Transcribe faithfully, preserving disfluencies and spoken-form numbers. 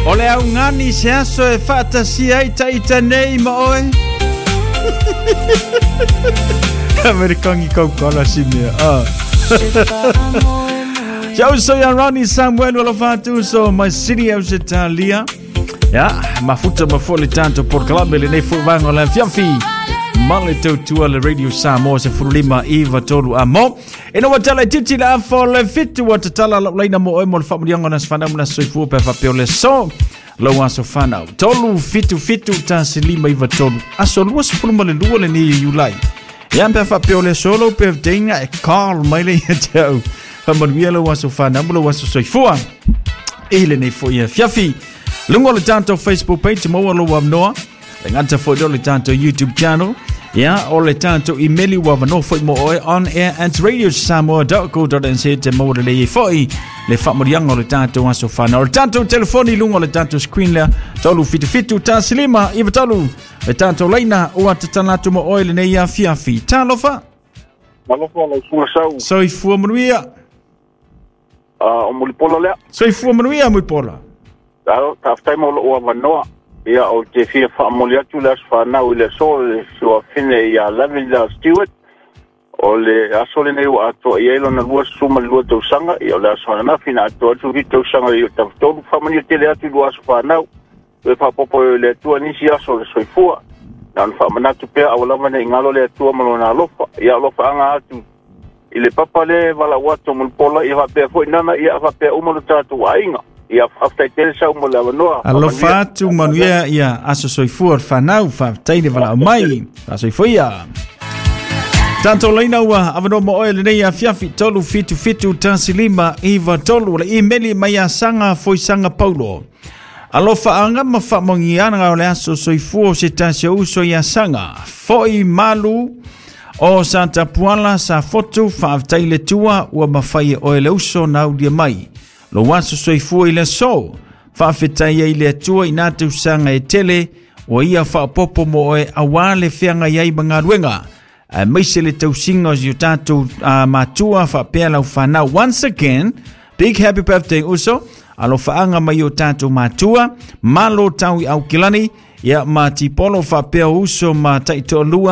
O le augani se aso e faatasia ai taita nei ma oe. Amerikangi kaukala si mea. Ah. Ciao, so ia Ronnie Samuel alofa atu so mai City au se talia. Ya, mafuta mafo le tanto por club le nei fu vango la fiafi. Male tautua le Radio Samoa se furulima iwa tolu a mo. E no watala titi la afo le fitu wa tatala la laina mo oe mo le whamulianga na sfanau na soifua pe whapeo le so. Lau aso whanau. Tolu fitu fitu tasi lima iwa tolu. Aso lua sefulu ma le lua le ni Iulai. Ia pe whapeo le solo pe vdeinga e call mai le ia te au. Whamanuia lau aso whanau mo lau aso soifua. I le nei fo ia fiafi. Lungo le tanto Facebook page mo alo wamnoa. Le ngata fo le tanto YouTube channel. Ia, o le tanto email ua vano foi mo oe on air at radio samoa dot co dot n z te mo le le foi le whamurianga o le tanto aso whanau. O le tanto telefoni lungo o le tanto screen lea tolu fitu fitu tasilima iwa tolu le tanto leina o atatanatu mo oe le nei afiafi. Talofa. Talofa lau suga sau. Soifua manuia. Uh, o Mulipola lea. Soifua manuia Mulipola. Tafetai mo lou avanoa. Ia o te fia whaamoli atu le aso whanau i le aso le suafine ia Lavender Stewart. O le aso lenei ua atoa i ai lona lua suma le lua tausaga. Ia o le aso ananafi na atoa atu ki tausaga i o tafatolu. Whaamania tele atu i lua aso whanau. E whaapopo i le Atua nisi aso le soifua. Na ona whaamanatu pea aua lava nei ngalo le Atua ma lona alofa. Ia alofa anga atu i le papa le walau atu o Mulipola. Ia whapea foi nana ia whapea uma lo tātou aiga. Ia whaftai tele sau mo le avanoa. Alofa atu manuia ia aso soifua whanau whaftai le walau mai. Aso ia. Tanto leina ua avanoa mo oe lenei afiafi tolu fitu fitu tasi lima iwa tolu le email mai a Sanga Foisanga Paulo. Alofa anga ma whaamongiana o le aso soifua o se tasi o uso ia Sanga. Foi malu o Santa Puala sa fotu whaaftai le tua ua mawhai e oe le uso na udia mai. Lo aso soifua i le so, whaafetai ai le atua i nā tausaga e tele, o ia whaapopo mo oe awa le whianga iai mangaluenga. A maise le tausinga o si o tātou uh, matua whaapea lau whanau. Once again, big happy birthday uso, alofa anga mai o tātou matua, malo tau i aukilani, ia ma tipolo whaapea uso ma taitoalua.